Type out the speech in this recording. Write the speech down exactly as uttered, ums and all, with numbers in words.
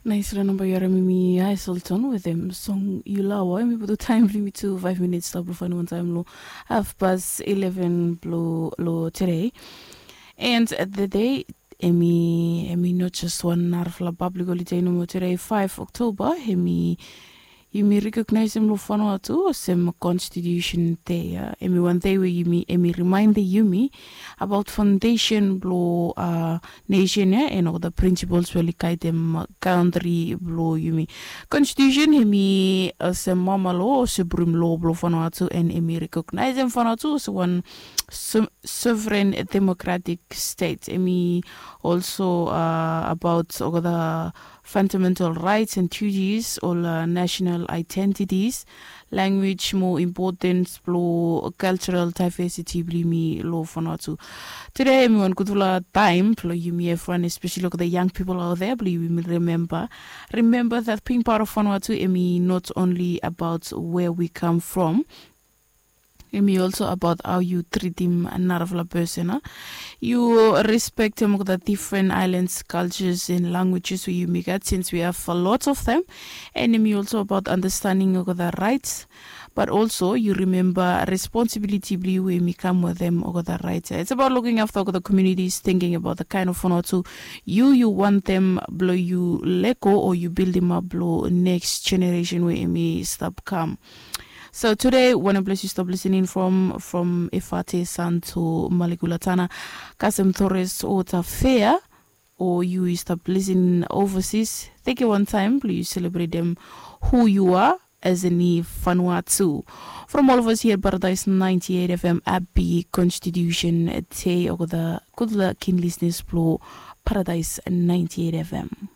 Naisra namba yu harim mi Aisolton wetem song Yulawa. Em i putum taem blong yumi tu faef minits stap long faenem wantaem long hafpas ileven blong long tede. And tede em i em i not jes wan narafala pablik holide nomo tede, faef Oktoba. Em i yumi rekognaesem long Vanuatu olsem Constitution Day. Em i wan dei we yumi em i rimaendem yumi abaot faondesen blong nesen ya and olgeta prinsipols we oli gaedem kantri blong yumi. Konstitusen hem i olsem mama lo olsem brum lo blong Vanuatu, and hem i rekognaesem Vanuatu olsem wan sovereign democratic state. Hem i also about olgeta fundamental rights and duties, ol national identities, language, mo importance blong cultural diversity blong yumi long Vanuatu. Tede em i wan gudfala taem blong yumi evriwan, especially olgeta young people out there, blong yumi remember remember that being part of Vanuatu em i not only about where we come from. Em i also about how yu tritim narafala person. Yu respektem olgeta different islands, cultures and languages we yumi gat, since we have a lot of them. And em i also about understanding olgeta rights, but also yu remember responsibility blong yu we em i kam wetem olgeta rights. It's about looking after olgeta communities, thinking about the kind of Vanuatu yu yu wantem blong yu lego o yu bildimap long next generation we em i stap kam. So today, wanem ples yu stap listening from, from Efate San to Malekula Tana, kasem Torres o Tafea, o yu yu stap listening overseas, teke wan taem blong yu selebretem who you are as a ni Vanuatu. From all of us here at Paradise ninety-eight F M, happy Constitution Day olgeta gudfala kin listeners blong Paradise ninety-eight F M.